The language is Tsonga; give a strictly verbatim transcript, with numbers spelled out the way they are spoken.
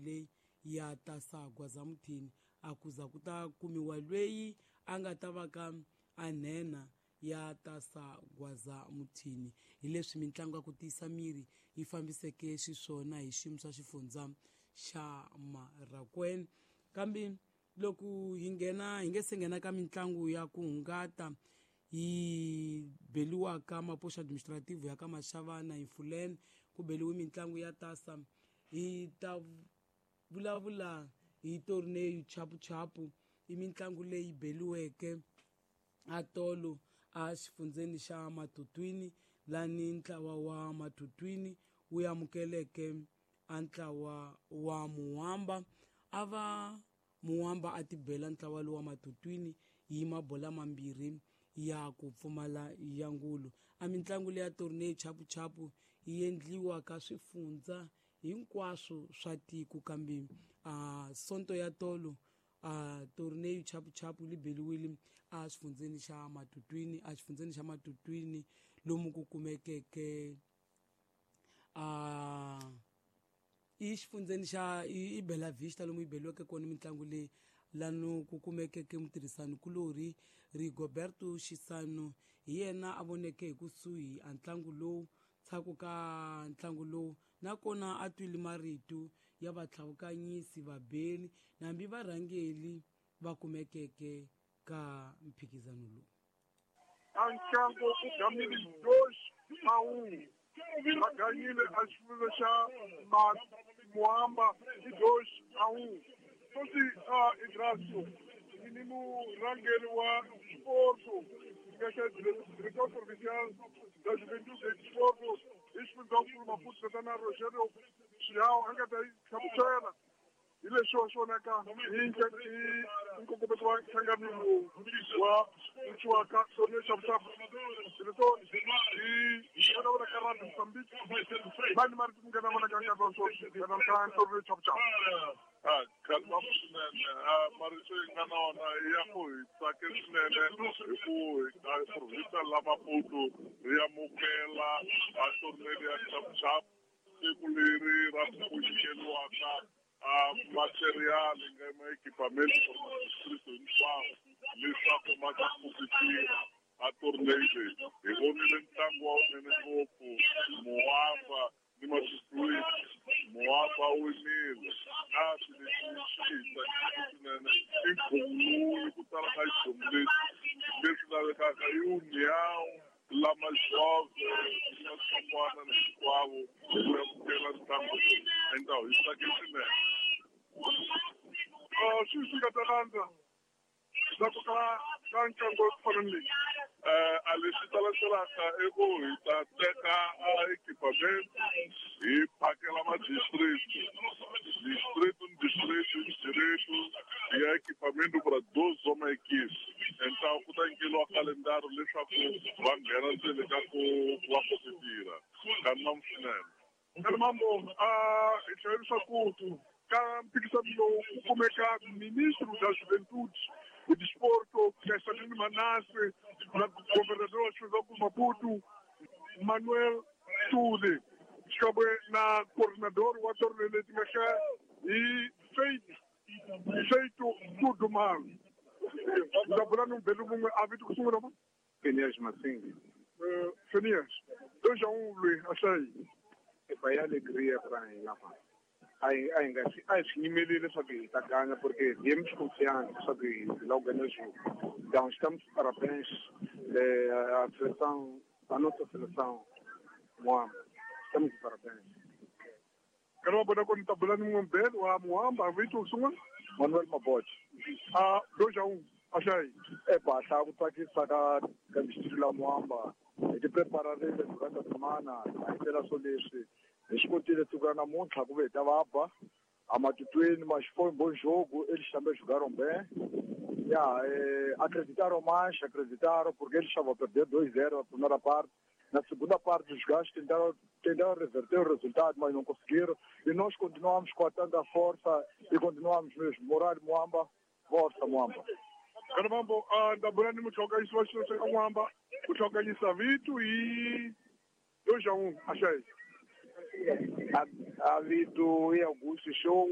leyi ya tasa Gwazamuthini a kuza ku ta kumiwa lweyi a nga ta va ka a nhenha ya tasa Gwazamuthini. Hi leswi mitlangu ya ku tiyisa miri yi fambiseke xiswona hi xiyimo xa xifundza xa Marakwena. Kambe loko hi nghena hi nge se nghena ka mitlangu ya ku hungata yi beliwaka mapoxa administrative ya ka Mashavana hi Mfuleni ku beliwe mitlangu ya tasa, hi ta vulavula hi torneo chapuchapu. I mitlangu leyi beliweke a tolo a xifundzeni xa Matutwini, lani ntlawa wa Matutwini wu amukeleke a ntlawa wa Muwamba. A va Muwamba a tibela ntlawa lowu wa Matutwini hi mabola mambirhi ya ku pfumala ya ngulu. A mitlangu leya torneo chapuchapu yi endliwa ka swifundza hinkwaswo swa tiko, kambe a sonto ya tolo a torneo chapuchapu li beliwile a xifundzeni xa Matutwini, a xifundzeni xa Matutwini lomu ku kumekeke a i xifundzeni xa i Bela Vista lomu yi beliweke kona mitlangu leyi, lano ku kumekeke mutirhisani kulorhi Rigoberto Xisano hi yena a voneke hi kusuhi a ntlangu lowu tshaku ka ntlangu lowu, nakona a twile marito ya vatlhavukanyisi vabeli nambi varhangeli va kumekeke ka mphikizano lowu. A ntlangu u gamile dois a um, va ganyile a xifundza xa Muamba i dois a um. Sweswi a Idraso ni murhangeri wa Sporto nga xa director provincial da Juventude e Desporto hi xifundzankulu Maputo tatana Rogério Xihawu a nga ta yi hlamusela hi leswi wa swonaka hi nkongometo wa nhlangano lowu wa wuciwaka torneo chapuchapu. Director hi vona vona ka Radio Mozambique vani marito mi nga na vona ka nkarhi wa sweswi ka torneo chapuchapu. A khalma swinene a marito yi nga na wona ya ku hi tsake swinene hi ku hi province la Maputo ri amukela a torneo ya chapuchapu siku leri ra ku nyikeriwaka a material nga ma equipamento for distrito hinkwawo leswaku ma ta competira a torneo leyi. Hi vonile ntlangu wa wunene ngopfu Muwamba ni Matutwini. Muwamba winile kasi lexi xi hi tsakiseke swinene i nkhuvo lowu ku tala ka xidyomu lexi leswi lavekaka i União lama Jove na swin'wana na hinkwavo hi ku amukela ntlangu lowu enta hi tsake swinene. Swi swi nga ta landza ndzhaku ka ka ntlangu wa ku fana ni leyi. A leswi ta landzelaka i ku hi ta teka a equipament hi phakela ma-district, distrito ni distrito ni direito ya equipamento para doze uma equipe. Então ku ta nyikeriwa kalendari leswaku va nghena ndzeni ka ku va competira. Kan'we swinene. Mambo a hi tlhela leswaku ka mphikizano lowu ku kumeka ministro da Juventude e Desporto Castanino Manasse na governador wa xifundzankulu Maputo Manuel Tule xikan'we na coordinador wa torneo leti nga xa hi Faith Feito Tudumal. Ndza bula ni mubeli mun'we a vito ku sungula ma Phineas Masingi. Phineas dois a um lwe a hlayi. Epa ya alegria pra hina fa. A hi a hi nga swi a hi swi yimeleli leswaku hi ta ganya porque viemos confiantes leswaku hi lava ku ganya jogo. Então estamos de parabéns eh, à seleção, à nossa seleção Muamba. Estamos de parabéns. Nkarhi wa vona ku ni ta bula ni mun'we mubeli wa Muamba a vito ku sungula Manuel Maboche. A dois a um a hlayi. Epa hlaya ku tsakisa ka ka distrito la Muamba. Hi ti prepararile durante a semana hi tela swo leswi hi swi kotile siku ra namuntlha ku ve hi ta va ba a Matutwini mas foi um bom jogo, eles também jogaram bem. Yeah, eh, acreditaram mais, acreditaram porque eles estavam a perder dois zero na primeira parte. Na segunda parte os gajos tentaram, tentaram reverter o resultado, mas não conseguiram. E nós continuamos com a tanta força e continuamos mesmo. Moral Muamba, força Muamba. Mambo ndza bula ni mutlhonganyisi wa xilo xa Muamba ku tlhonganyisa vito hi dois a um a hlayi. A, a vito i Augusto Xongo.